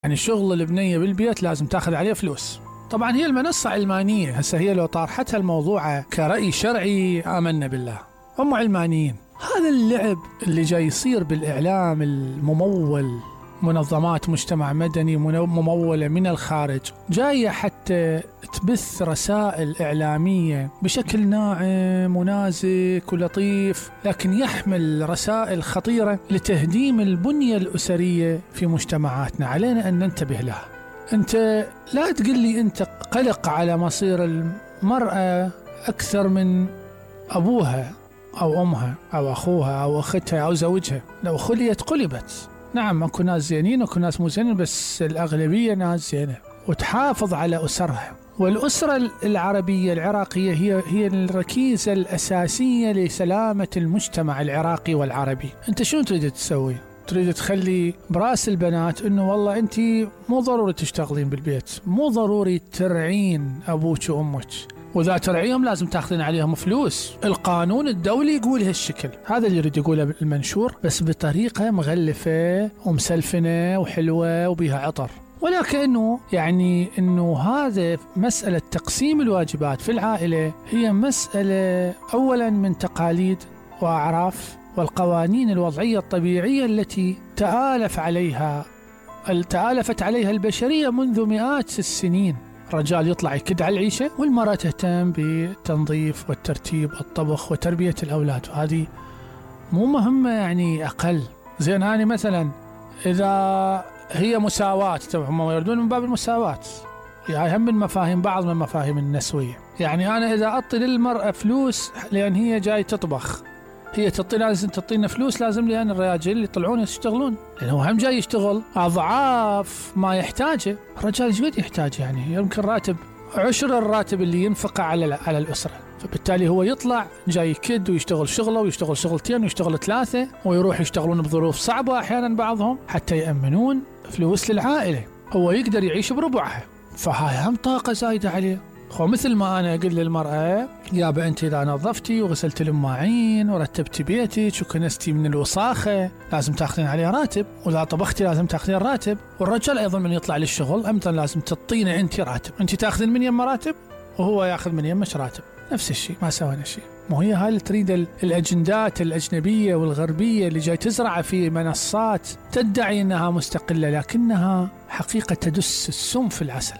يعني شغل البنية بالبيت لازم تاخذ عليه فلوس. طبعا هي المنصة علمانية، هسه هي لو طارحتها الموضوع كرأي شرعي آمنا بالله، هم علمانيين. هذا اللعب اللي جاي يصير بالإعلام الممول، منظمات مجتمع مدني ممولة من الخارج، جاية حتى تبث رسائل إعلامية بشكل ناعم ونازك ولطيف، لكن يحمل رسائل خطيرة لتهديم البنية الأسرية في مجتمعاتنا. علينا أن ننتبه لها. أنت لا تقول لي أنت قلق على مصير المرأة أكثر من أبوها أو أمها أو أخوها أو أختها أو زوجها. لو خليت قلبت. نعم اكو ناس زينين واكو ناس مو زينين، بس الأغلبية ناس زينة، وتحافظ على أسرها. والأسرة العربية العراقية هي الركيزة الأساسية لسلامة المجتمع العراقي والعربي. أنت شو تريد تسوي؟ تريد تخلي براس البنات إنه والله أنت مو ضروري تشتغلين بالبيت، مو ضروري ترعين أبوك وأمك، وإذا ترعيهم لازم تاخذين عليهم فلوس. القانون الدولي يقول هالشكل، هذا اللي يريد يقوله المنشور، بس بطريقة مغلفة ومسلفنة وحلوة وبيها عطر. ولكنه يعني إنه هذا مسألة تقسيم الواجبات في العائلة هي مسألة أولا من تقاليد وأعراف والقوانين الوضعية الطبيعية التي تآلفت عليها البشرية منذ مئات السنين. الرجال يطلع يكد على العيشة، والمرأة تهتم بالتنظيف والترتيب والطبخ وتربية الأولاد، وهذه مو مهمة يعني أقل. زين أنا مثلا إذا هي مساواة، هم يردون من باب المساواة، يعني هم من مفاهيم بعض من مفاهيم النسوية. يعني أنا إذا أعطي للمرأة فلوس لأن هي جاي تطبخ، هي لازم تعطينا فلوس، لازم لأن الرجال يطلعون يشتغلون، لأنه هم جاي يشتغل أضعاف ما يحتاجه. الرجال ايش قد يحتاج؟ يعني يمكن راتب 10 الراتب اللي ينفقه على الأسرة، فبالتالي هو يطلع جاي يكد ويشتغل شغله ويشتغل شغلتين ويشتغل 3، ويروح يشتغلون بظروف صعبة أحيانا بعضهم حتى يأمنون فلوس للعائلة. هو يقدر يعيش بربعها، فهاي هم طاقة زايدة عليه. مثل ما أنا أقول للمرأة يا أنت إذا نظفتي وغسلت المواعين ورتبتي بيتك وكنستي من الوساخة لازم تأخذين عليه راتب، وإذا طبختي لازم تأخذين راتب. والرجال أيضا من يطلع للشغل أمثلا لازم تعطينه أنت راتب، أنت تأخذين من يم راتب وهو يأخذ من يمش راتب، نفس الشيء، ما سوينا شيء. مو هي هاي اللي تريد الأجندات الأجنبية والغربية اللي جاي تزرع في منصات تدعي أنها مستقلة، لكنها حقيقة تدس السم في العسل.